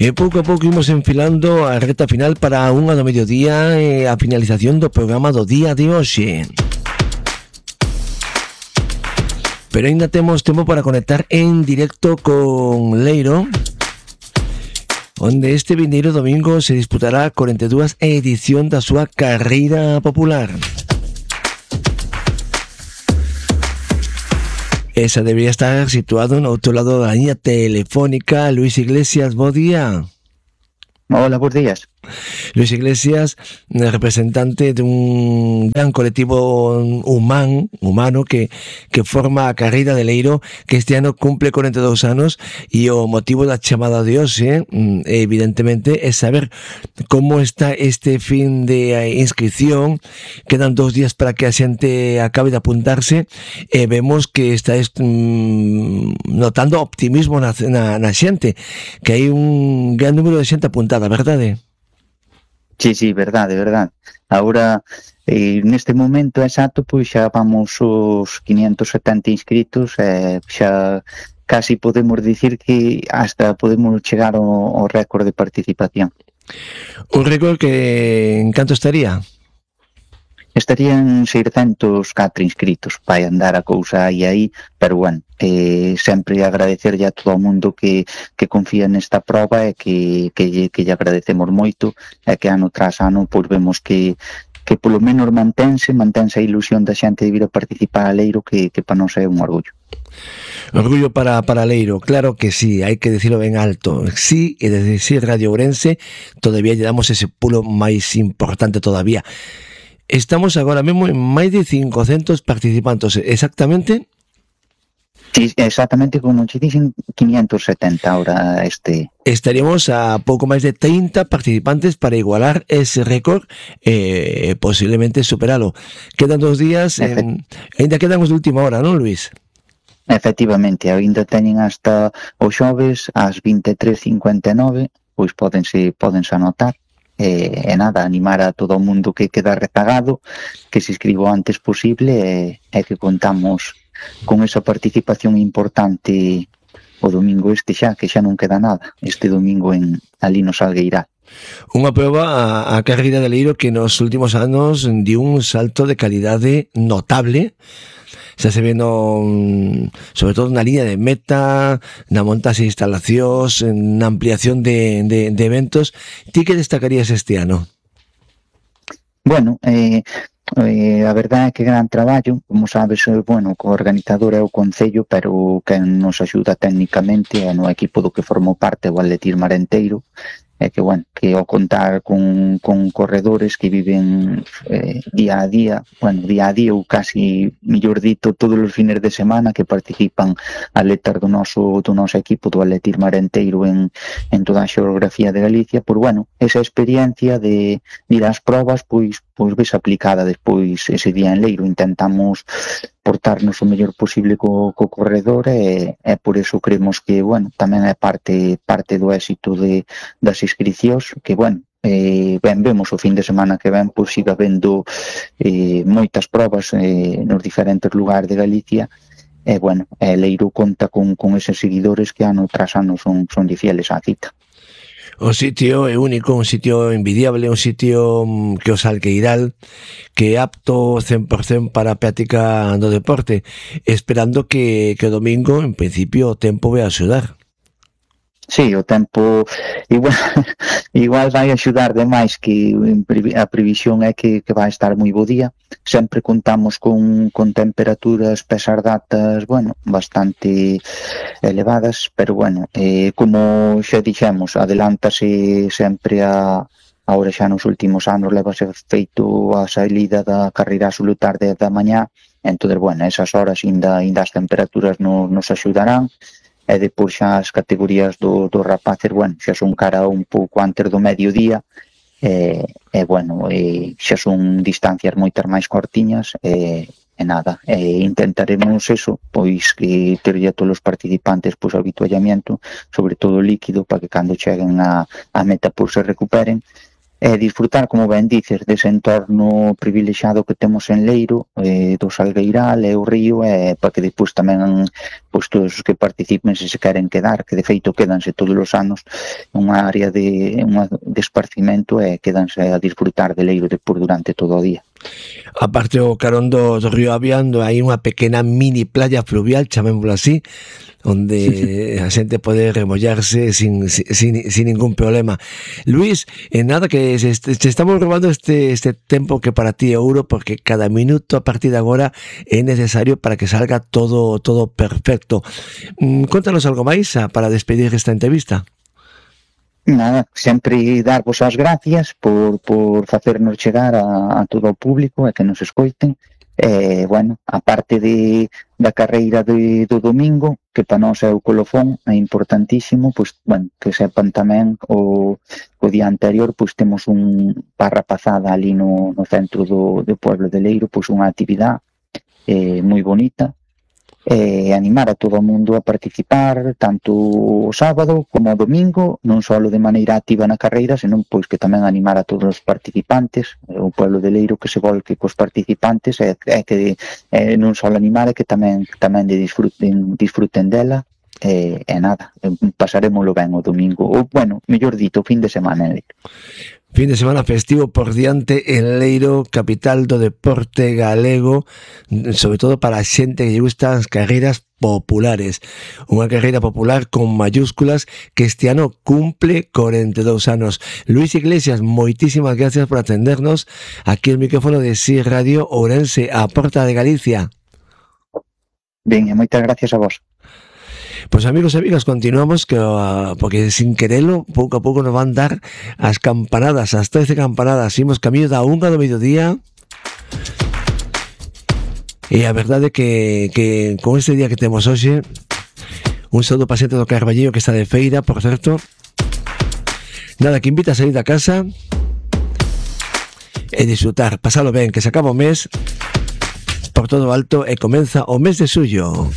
E pouco a pouco imos enfilando a reta final para unha do mediodía e a finalización do programa do día de hoxe. Pero ainda temos tempo para conectar en directo con Leiro, onde este vindeiro domingo se disputará a 42 edición da súa carreira popular. Esa debería estar situado no outro lado da liña telefónica. Luis Iglesias, bo día. Hola, bons días. Luis Iglesias, representante dun gran colectivo humano que forma a carreira de Leiro, que este ano cumple 42 anos, e o motivo da chamada de hoxe, evidentemente, é saber como está este fin de inscripción. Quedan 2 días para que a xente acabe de apuntarse, e vemos que estáis notando optimismo na xente, que hai un gran número de xente apuntada, verdade? Sí, verdade. Agora, neste momento exacto, pois xa vamos os 570 inscritos, xa casi podemos dicir que hasta podemos chegar ao récord de participación. Un récord que en canto estaría? Estarían 604 inscritos, vai andar a cousa aí, pero bueno, sempre agradecerlle a todo o mundo que confía nesta proba e que lle agradecemos moito, e que ano tras ano pois vemos que polo menos mantense a ilusión da xente de vir a participar a Leiro, que para nós é un orgullo. Orgullo para Leiro, claro que sí, hai que decirlo ben alto. Sí, e desde sí Radio Ourense todavía lle damos ese pulo máis importante todavía. Estamos agora mesmo en máis de 500 participantes, exactamente? Sí, exactamente, como che dixen, 570 ahora Estaríamos a pouco máis de 30 participantes para igualar ese récord e posiblemente superalo. Quedan 2 días, ainda quedan os de última hora, non, Luis? Efectivamente, ainda teñen hasta o xoves ás 23:59, pois pódense anotar. E nada, animar a todo o mundo que queda rezagado, que se inscriba o antes posible, e que contamos con esa participación importante o domingo que xa non queda nada, este domingo ali no Salgueiral. Unha proba a carreira de Leiro que nos últimos anos dio un salto de calidade notable. Xa se ve sobre todo na liña de meta, na montaxe de instalacións, na ampliación de eventos. Ti que destacarías este ano? Bueno, a verdade é que gran traballo, como sabes, bueno, o organizador é o Concello, pero quen nos axuda técnicamente é no equipo do que formou parte o Atletismo Marenteiro, e que, bueno, que ao contar con corredores que viven día a día ou casi, millor dito, todos os fines de semana, que participan atletas do noso equipo do Atletismo Marenteiro en toda a xeografía de Galicia, pois, bueno, esa experiencia de ir ás probas, pois ves aplicada despois ese día en Leiro. Intentamos portarnos o mellor posible co corredor, e por eso creemos que, bueno, tamén é parte do éxito das inscricións, que, bueno, vemos o fin de semana que ven, pois siga habendo moitas probas nos diferentes lugares de Galicia, e, bueno, Leiro conta con eses seguidores que ano tras ano son fieles á cita. O sitio é único, un sitio envidiable, un sitio que o Salgueiral, que é apto 100% para a práctica do deporte, esperando que o domingo, en principio, o tempo vai a axudar. Sí, o tempo igual vai axudar demais, que a previsión é que vai estar moi bo día. Sempre contamos con temperaturas pesar datas, bueno, bastante elevadas, pero, bueno, como xa dixemos, adelántase sempre agora xa nos últimos anos levase feito a saída da carreira absolutar de da mañá, entón, bueno, esas horas ainda as temperaturas nos axudarán. E depois xa as categorías dos rapaces, bueno, xa son cara un pouco antes do mediodía, bueno, xa son distancias moitas máis cortiñas, e nada, intentaremos eso, pois que terlle a todos os participantes pois o habituallamiento, sobre todo líquido, para que cando cheguen a meta pois se recuperen, disfrutar, como ben dices, dese entorno privilexiado que temos en Leiro, do Salgueiral e o río, para que despois tamén pois, todos os que participen se queren quedar, que de feito quedanse todos os anos unha área de esparcimento e quedanse a disfrutar de Leiro despois durante todo o día. Aparte o carón do río Aviando hai unha pequena mini playa fluvial, chamémoslo así, onde a xente pode remollarse sin ningún problema. Luis, nada, que se estamos robando este tempo que para ti é ouro, porque cada minuto a partir de agora é necesario para que salga todo perfecto. Contanos algo máis para despedir esta entrevista. Nada, sempre darvos as gracias por facernos chegar a todo o público e que nos escoiten. Bueno, a parte da carreira do domingo, que para nós é o colofón, é importantísimo, pois, bueno, que sepan tamén o día anterior, pois temos para rapazada ali no centro do pueblo de Leiro, pois unha actividade moi bonita, animar a todo o mundo a participar tanto o sábado como o domingo, non só de maneira activa na carreira, senón pois que tamén animar a todos os participantes, o pueblo de Leiro que se volque cos participantes e que non só animar, e que tamén disfruten dela, e nada, pasaremoslo ben o domingo, ou bueno, mellor dito, o fin de semana en Leiro. Fin de semana festivo por diante en Leiro, capital do deporte galego, sobre todo para a xente que lle gustan as carreiras populares. Unha carreira popular con mayúsculas que este ano cumple 42 anos. Luis Iglesias, moitísimas gracias por atendernos aquí el micrófono de SIR Radio Ourense, a Porta de Galicia. Ben, moitas gracias a vos. Pois amigos e amigas, continuamos porque sin querelo, pouco a pouco nos van dar as campanadas, as 13 campanadas. Imos camiño da 1 do mediodía. E a verdade que con este día que temos hoxe, un saúdo para xente do Carballiño que está de feira, por certo. Nada, que invita a salir da casa e disfrutar, pasalo ben, que se acaba o mes por todo alto e comeza o mes de xullo.